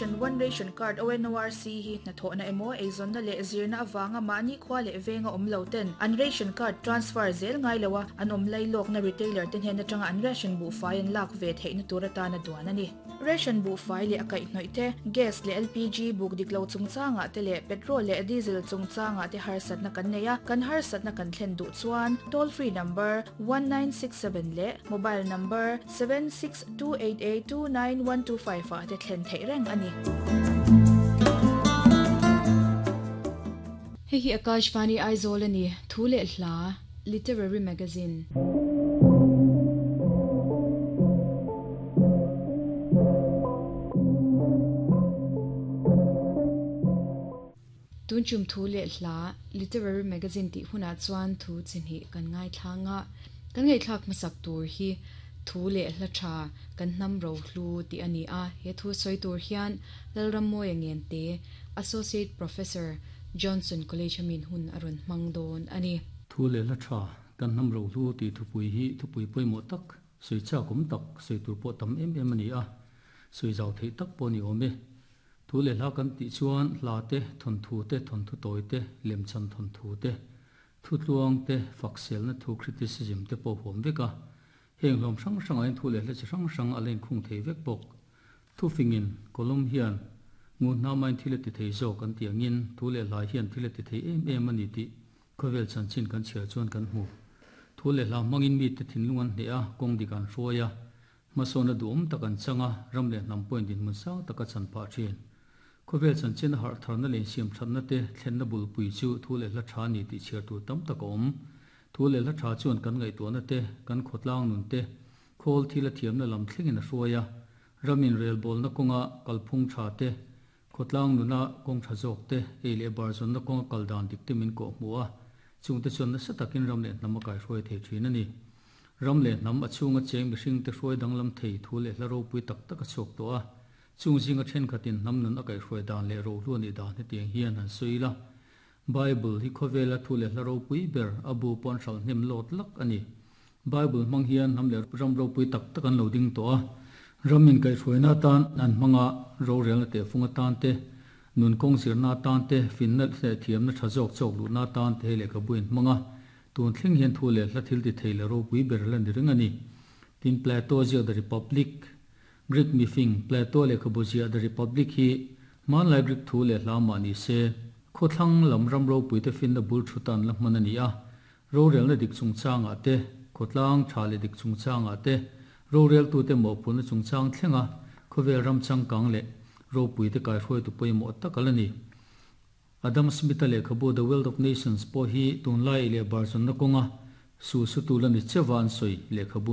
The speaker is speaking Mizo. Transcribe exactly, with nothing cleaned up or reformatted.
Nation One Ration Card O N O R C hi hnathawhna emaw eizawnna leh zirna avanga mahni khua leh venga awm lo ten an ration card transfer zel ngai loa an awm lailawkna retailer te hnen atanga an ration buhfai an lak ve theihna tur atana duan a ni. Ration buhfai leh a kaihhnawih te, gas leh L P G buk dik lo chungchangah te leh petrol leh diesel chungchangah te harsatna kan nei a, kan harsatna kan thlen duh chuan toll free number one nine six seven leh mobile number seven six two eight eight two nine one two five ah te thlen theih reng a ni. Hei hi Akashvani Aizawl ani. Thu leh hla Literary Magazine. Tun chum thu leh hla Literary Magazine tih hunah chuan thu chi kan ngai thlanga kan ngai thlak masak tur hi thu leh hla tha kan hnam ro hlu ti ani a. He thu soi tur hian Lalrammoya Ngente, Associate Professor, Johnson College amin hun aron hmang dawn ani. Thu leh hla tha kan hnam ro hlu ti thupui hi thupui pawimawh tak, soi cha kum tak, soi tur pawh tam em em ani a, soi zau thei tak pawh ni awm e. Thu leh hla kan tih chuan hla te, thon thu te, thon thu tawi te, lem chan thon thu te, thu tluang te, fak selna thu criticism te pawh huam vek a. Heng hlawm hrang hrang a in thu leh hla chi hrang hrang a len khung thei vek bawk. Thu fingin kolom hian ngu hna main thil a ti thei zawk an ti angin thu leh hla hian thil a ti thei em em ani tih khawvel chanchin kan chhiar chuan kan hmu. Thu leh hla hmangin mi te thinlung an hne a, kawng dik an hruai a, hmasawn a duhawm tak an changa, ram leh hnam pawhin dinhmun sang taka chan phah thin. Khawvel chanchin a harh tharna leh insiam thatna te thlenna bulpui chu thu leh hla tha ni tih chhiar tur tam tak a awm. Thu leh hla tha chuan kan ngaihtuahna te, kan khawtlang nun te, khawl thil a thiamna lam thlengin a hruai a, ramin relbawlna kawnga kalphung tha te, khawtlang nuna kawng tha zawk te, ei leh bar zawnna kawnga kal dan dik te min kawh hmu a, chungte chuan nasa takin ram leh hnam a kaihruai thei thin a ni. Ram leh hnam a chhunga cheng mihring te hruai danglam thei thu leh hla ropui tak tak a chhuak tawh a, chung zinga thenkhatin hnam nun a kaihruai dan leh rohlu ani dan hetiang hian han sawi la. Bible hi khawvela thu leh hla ropui ber, a bu pawn hral hnem lawt lak ani. Bible hmang hian hnam leh ram ropui tak tak an lo ding tawh a, ramin kaihhruaina tan an hmanga rorelna te funga tan te, nun kawng zirna tan te, finna leh thiamna tha zawk chawk luhna tan te lehkha buin hmanga tun thleng hian thu leh hla thil ti thei leh ropui ber la ni reng ani. Tin, Plato ziak The Republic, Greek mifing Plato lehkhabu ziah The Republic hi hmanlai Greek thu leh hla mah ni se khawthlang lam ram ropui te finna bul thutan la hman ani a. Rorelna dik chungchangah te, khawtlang tha leh dik chungchangah te, rorel tu te mawhphurhna chungchang thlenga khawvel ram changkang leh ropui te kaihruai tu pawimawh tak ala ni. Adam Smith a lehkhabu The Wealth of Nations pawh hi tunlai leh bar zawnna kawnga su su tu la ni chewa an sawi lehkhabu.